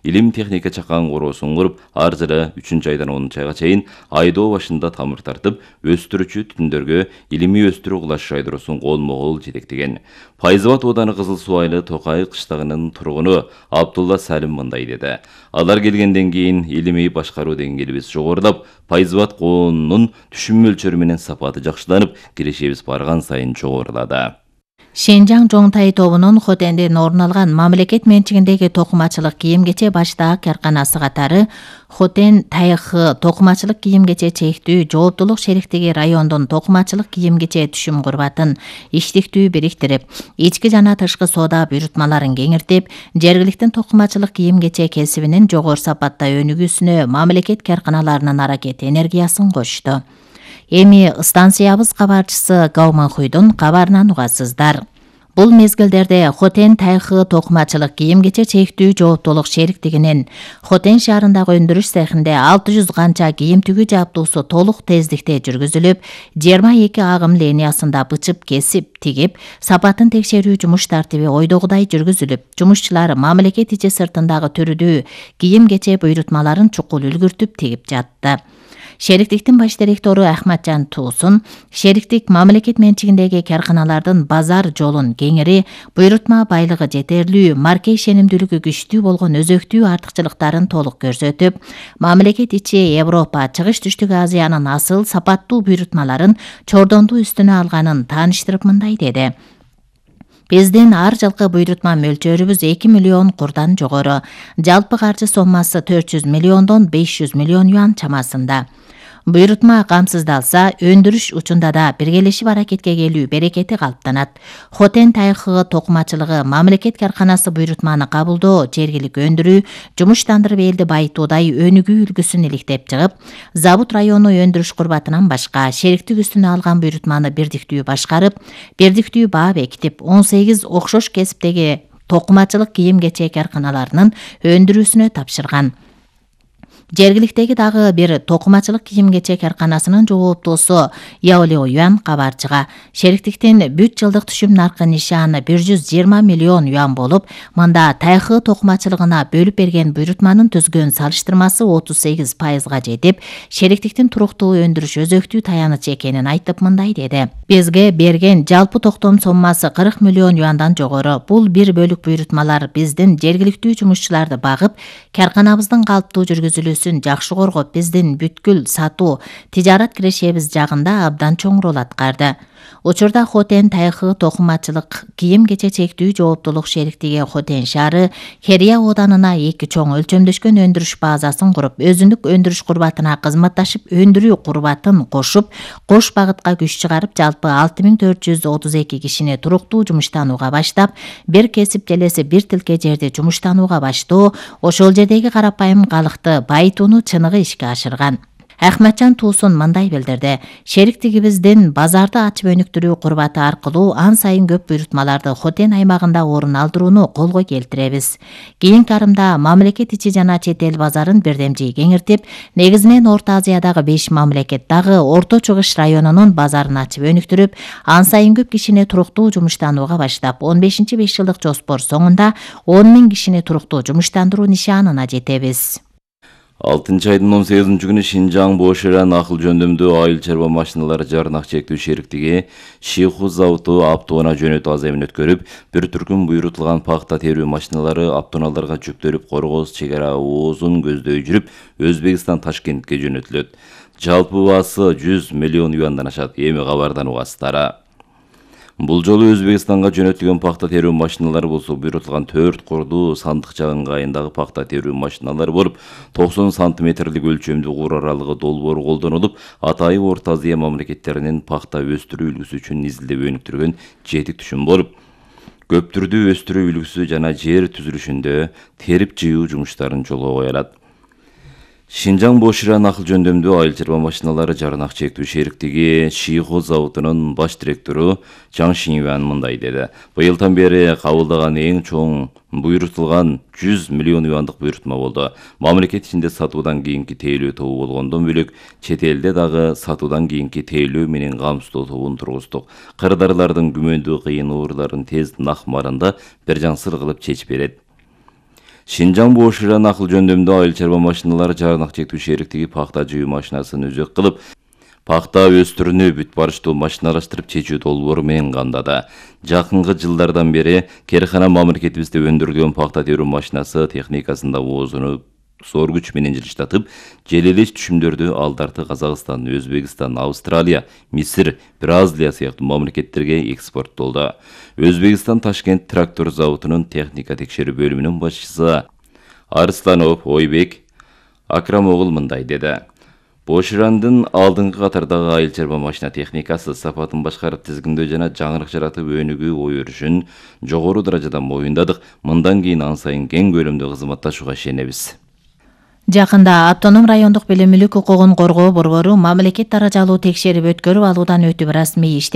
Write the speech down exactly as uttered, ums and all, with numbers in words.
илим техника чакан короосун куруп, ар жылы үчүнчү айдан онунчу айга чейин айдоо башында тамыр тартып, өстүрүүчү түтүндөргө илимий өстүрүү кылаш жайдыруусун колмо-кол жетектеген. Пайзыбат ооданы Кызыл Суу айылы Токай кыштагынын тургуну Абдулла Салим мындай деди. Алар келгенден кийин илимий башкаруу деңгээлибиз жогорулап, Пайзыбат коонунун түшүм мөлчөрү менен сапаты жакшыланып, кирешебиз барган сайын жогорулады. Шенжаң Жоңтай тобунун Хотенден орун алган мамлекет менчигиндеги токумачылык кийим-кече баштаак карканасы катары Хотен Тайхы токумачылык кийим-кече чектүү жооптулук шериктиги райондун токумачылык кийим-кече түшүм курбатын иштиктүү бириктирип, ички жана тышкы соода буйрутмаларын кеңиртип, жергиликтин токумачылык кийим-кече кесибинин жогору сапатта өнүгүүсүнө мамлекет карканаларынын аракет энергиясын кошту. Эми станциябыз кабарчысы Гауманхуйдун кабарынан угасыздар. Бул мезгилдерде Хотен Тайхы токумачылык кийим-кече чектүү жооптулук шериктигинин Хотен шаарындагы өндүрүш цехинде алты жүз канча кийим тигүү жабдуусу толук тездикте жүргүзүлүп, жыйырма эки агым линиясында бычып, кесип, тигип, сапатын текшерүү жумуш тартиби ойдогудай жүргүзүлүп, жумушчулар мамлекет ичи сыртындагы түрүдүү кийим-кече буйрутмаларын чукул үлгүртүп тигип жатты. Шериктиктин баш директору Ахматжан Туусун шериктик мамлекет менчигиндеги карканалардын базар жолун кеңири, буйрутма байлыгы жетерлүү, марке ишенимдүүлүгү күчтүү болгон өзөктүү артыкчылыктарын толук көрсөтүп, мамлекет ичи Европа, Чыгыш Түштүк Азиянын асыл сапаттуу буйрутмаларын чордондуу үстүнө алганын тааныштырып мындай деди. Биздин ар жылкы буйрутма мөлчөрүбүз эки миллион курдан жогору. Жалпы каржы соммасы төрт жүз миллиондон беш жүз миллион юан чамасында. Буйрутма камсыздалса, өндүрүш учунда да биргелешип аракетке келүү берекети калыптанат. Хотен Тайхы токумачылыгы мамлекет карканасы буйрутманы кабылдоо, жергилик өндүрүү, жумуштандырып элди байытуудай өнүгүү үлгүсүн иликтеп чыгып, Забут району өндүрүш курбатынан башка шериктик үстүнө алган буйрутманы бирдиктүү башкарып, бирдиктүү баа бекитип, он сегиз окшош кесиптеги токумачылык кийим-кече карканаларынын өндүрүүсүнө тапшырган. Жергиликтеги дагы бир токумачылык кийим-кече карканасынын жооптуусу Яолео Юан кабарчыга шериктиктин бүт жылдык түшүм наркы нишаны бир жүз жыйырма миллион юан болуп, мында Тайхы токумачылыгына бөлүп берген буйрутманын түзгөн салыштырмасы отуз сегиз пайызга жетип, шериктиктин туруктуу өндүрүш өзөктүү таяныч экенин айтып мындай деди. Бизге берген жалпы токтом соммасы кырк миллион юандан жогору. Бул бир бөлүк буйрутмалар биздин жергиликтүү жумушчуларды багып, карканабыздын калыптуу жүргүзүлүүсүн жакшы коргоп, биздин бүткүл сатуу, тижарат кирешебиз жагында абдан чоң рол аткарды. Учурда Хотен Тайхы токумачылык кийим-кече чектүү жооптулук шериктиги Хотен шаары Херия ооданына эки чоң өлчөмдөшкөн өндүрүш базасын куруп, өзүндүк өндүрүш курбатына кызматташып, өндүрүү курбатын кошуп, кош багытка күч чыгарып, жалпы алты миң төрт жүз отуз эки кишини туруктуу жумуштанууга баштап, бир кесип желеси бир тилке жерди жумуштанууга баштоо, ошол жердеги карапайым калыкты байытууну чыныгы ишке ашырган. Ахматжан Туусун мындай билдирди. Шериктигибиздин базарды ачып өнүктүрүү курбаты аркылуу ан сайын көп буйрутмаларды Хотен аймагында орун алдырууну колго келтиребиз. Кийинки арымда мамлекет ичи жана чет эл базарын бирдемжий кеңиртип, негизинен Орто Азиядагы беш мамлекет дагы Орто Чыгыш районунун базарын ачып өнүктүрүп, ан сайын көп кишини туруктуу жумуштанууга баштап, он бешинчи беш жылдык жоспор соңунда он миң кишини туруктуу жумуштандыруу нишанына жетебиз. алтынчы айдын он сегизинчи күнү Шинжаң Боширан акыл жөндөмдүү айыл чарба машиналары жарнак чектүү шериктиги Шиху заводу автоунаа жөнөтүү аземин өткөрүп, бир түркүм буйрутулган пахта терүү машиналары автоунааларга жүктөлүп, Коргоз чек ара оозун көздөй жүрүп, Өзбекстан Ташкентке жөнөтүлөт. Жалпы баасы жүз миллион юандан ашат. Эми кабардан угасыздар. Бул жолу Өзбекстанга жөнөтүлгөн пахта терүү машиналары болсо буйрутулган төрт курдуу сандыкча ыңгайындагы пахта терүү машиналары болуп, токсон сантиметрлик өлчөмдүү кур аралыгы долбоору колдонулуп, атайын Орто Азия мамлекеттеринин пахта өстүрүү үлгүсү үчүн изилдеп өнүктүргөн жетик түшүм болуп, көп түрдүү өстүрүү үлгүсү жана жер түзүлүшүндө терип жыюу жумуштарын жолго кое алат. Шинжаң Боширан акыл жөндөмдүү айыл чарба машиналары жарнак чектүү шериктиги Шиху заводунун баш директору Чаң Шинюан мындай деди. Быйылдан бери кабылдаган эң чоң буйрутулган жүз миллион юандык буйрутма болду. Мамлекет ичинде сатуудан кийинки тейлөө тобу болгондон бөлөк, чет элде дагы сатуудан кийинки тейлөө менен камсыздоо тобун тургуздук. Кырдаарлардын күмөндүү кыйын ууруларын тез нак маранда бир жансыр кылып чечип берет. Шинжаң Бош Иран акыл жөндөмдүү айыл чарба машиналары жарнак чектүү шериктиги пахта жыйуу машинасын өзөк кылып, пахта өстүрүүнү бүт барыштуу машиналаштырып чечүү долбоору менен камдады. Жакынкы жылдардан бери Керхана мамлекетибизде өндүрүлгөн пахта терүү машинасы техникасында оозуну зор күч менен жылыштатып, желелеш түшүмдөрдү алдарты Казакстан, Өзбекстан, Австралия, Мисир, Бразилия сыяктуу мамлекеттерге экспорттолду. Өзбекстан Ташкент трактор заводунун техника текшерүү бөлүмүнүн башчысы Арсланов Ойбек Акрамогул мындай деди. Бош Ирандын алдыңкы катардагы айыл чарба машина техникасы сапатын башкарып тизгиндөө жана жаңырык жаратып өнүгүү ой өрүшүн жогору даражада моюндадык. Мындан кийин ан сайын кең көлөмдө кызматташууга ишенебиз. Жакында Автоном райондук билим мүлк укугун коргоо борбору мамлекет даражалуу текшерип өткөрүп алуудан өтүп расмий ишти